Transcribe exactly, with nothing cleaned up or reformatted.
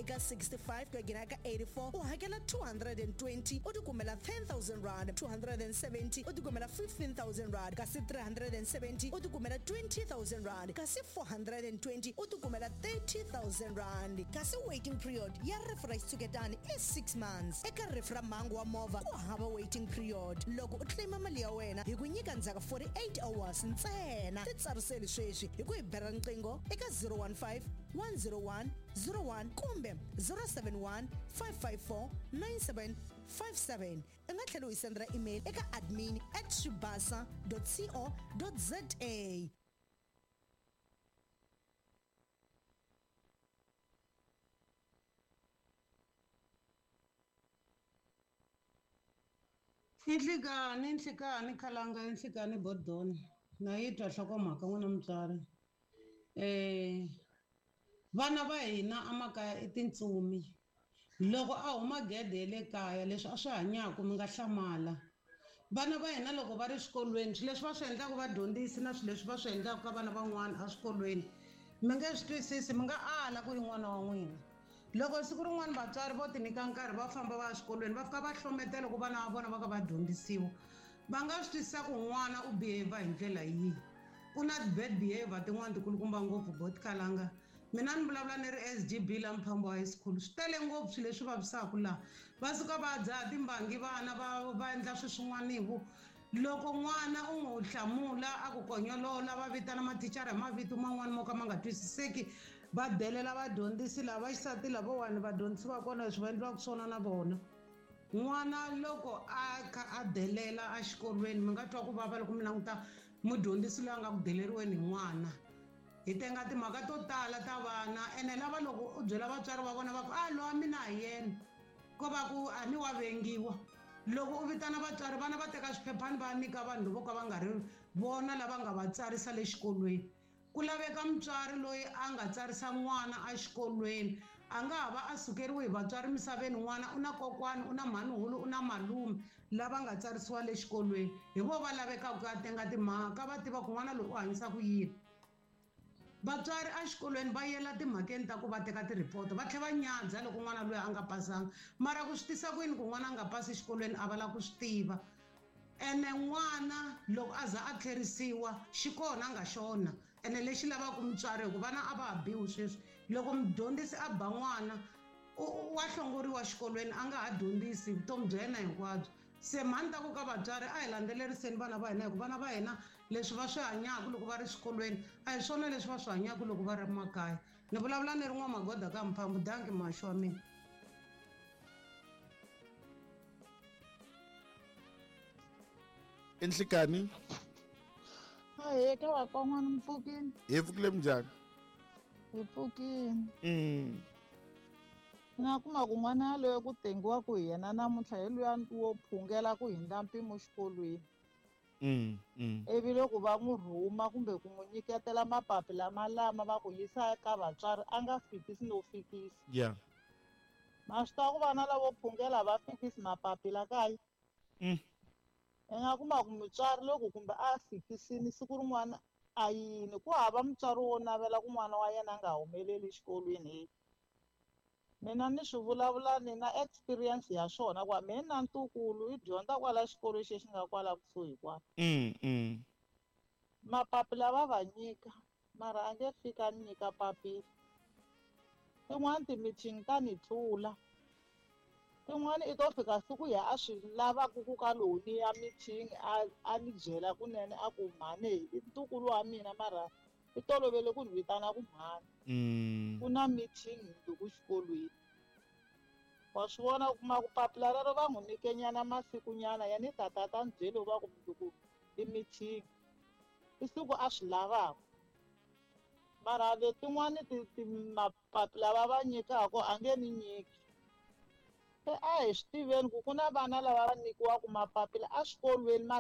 eka sixty-five ku ya nghena eka eighty-four u hakela two hundred and twenty u tikumela ten thousand rand, two hundred and seventy u tikumela fifteen thousand rand, kasi three hundred and seventy u tikumela twenty thousand rand, kasi four hundred and twenty u tikumela thirty thousand rand. Kasi waiting period ya rifu ra xitshuketani i six months. Eka rifu ra mhangu wa movha ku hava waiting period. Loko u claima mali ya wena hi ku nyika ndzhaku forty-eight hours ntsena. Titsariseli sweswi hi ku hi bela riqingho eka zero one five, one zero one, zero one kumbe zero seven one, five five four, nine seven five seven. U nga tlhela u hi sendela email eka admin at swibasa dot co dot za. Nhlikani, nhlikani, khalanga, nhlikani, bodoni. Na yi twa nhlokomhaka n'wina mutswari. Eh, vana va hina emakaya i tintsumi. Loko a huma gede ya le kaya, leswi a swi hanyaka mi nga hlamala. Vana va hina loko va ri swikolweni, swilo leswi va swi endlaka vadyondzisi na swilo leswi va swi endlaka ka vana van'wana eswikolweni, mi nge swi twisisi, mi nga ala ku i n'wana wa n'wina. Loko siku rin'wana vatswari vo ti nyika nkarhi va famba va ya swikolweni, va fika va hlometela ku vana va vona va ka va dyondzisiwa. Va nga swi twisisa ku n'wana u behave hi ndlela yihi. Ku na bad behavior tin'wana tikulukumba ngopfu bot khalanga. Mina ni vulavula ni ri S G B la Mphambo High School. Swi tele ngopfu swilo leswi vavisaka laha. Va suka va dzaha timbangi vana va, va endla swilo swin'wanivo. Loko n'wana u n'wi hlamula a ku konyolola, va vitana mathicara hi mavito man'wani mo ka ma nga twisiseki, va delela vadyondzisi lava xisati lavawani, vadyondzisi va kona leswi va endliwaka swona na vona. N'wana loko a kha a delela exikolweni, mi nga twa ku vava loko mi languta mudyondzisi loyi a nga ku deleriweni hi n'wana. Hi tenga timhaka to tala ta vana, ene lava loko u byela vatswari va vona va ku, a lowa mina hi yena, ko va ku a ni wa vengiwa. Loko u vitana vatswari, vana va teka swiphephani va nyika vanhu vo ka va nga ri vona lava nga va tsarisa le xikolweni. Ku laveka mutswari loyi a nga tsarisa n'wana exikolweni, a nga ha va a sukeriwe hi vatswari misaveni, n'wana u na kokwani, u na mhanihulu, u na malume lava nga tsarisiwa le xikolweni. Hi vo va lavekaka ku ya tenga timhaka, va tiva ku n'wana loyi u hanyisa ku yini. Vatswari exikolweni va yela timhakeni ta ku va teka ti-report, va tlhela va nyadza loko n'wana loyi a nga pasanga. Mara ku swi tisa ku yini ku n'wana a nga pasi exikolweni a va lava ku swi tiva. Ene n'wana loko a za a tlherisiwa, xi kona a nga xona. Ene lexi lavaka mutswari, hikuva vana a va ha biwi sweswi. Loko mudyondzisi a ba n'wana, u, wa hlongoriwa xikolweni, a nga ha dyondzisi vutomi bya yena hinkwabyo. Se mhani ta ku ka vatswari, a hi landzeleriseni vana va hina, hikuva vana va hina leswi va swi hanyaka loko va ri swikolweni a hi swona leswi va swi hanyaka loko va ri makaya. Ni vulavula ni ri n'wamagoda ka Mphambo. Danki muhaxi wa mina. Nhlikani. Ahee, ka vakon'wana mi pfukile? Hi pfukile minjhani? Hi pfukile. Mm. Ni nga kuma ku n'wana yaloye ku tengiwa hi yena namuntlha hi luya wo phungela ku hindza mpimo xikolweni. Mm, mm. Ivi loko va n'wi rhuma kumbe ku n'wi nyiketela mapapila malama va ku yisa eka vatswari a nga fikisi no fikisi. Yeah. Ma swi tiva ku vana lavo phungela va fikisi mapapila kaya. Mm. I nga kuma ku mutswari loko kumbe a fikisini siku rin'wana a yini, ku hava mutswari wo navela ku n'wana wa yena a nga humeleli exikolweni he. Mina ni swi vulavula ni na experience ya swona ku mina na ntukulu i dyondza kwala xikolo xexi nga kwala kusuhi kwala. Mm, mm. Mapapila va va nyika, mara a nge fika ni nyika papila. Tin'wani ti-meeting ta ni tlula. Tin'wani i to fika siku ya a swi lavaka ku ka lowu ni ya meeting a, a ni byela kunene a ku mhani i ntukulu wa mina mara i tolovele ku ni vitana ku mhani. Mm. Ku na meeting loko xikolweni. Wa swi vona ku kuma ku papila rero va n'wi nyike nyana masikunyana ya ni tata ta ni byele va ku mundzuku i meeting. I siku a swi lavaka. Mara letin'wani ti, ti mapapila va va nyikaka a nge ni nyiki. Se a hi swi tiveni ku ku na vana lava va nyikiwaka mapapila eswikolweni mara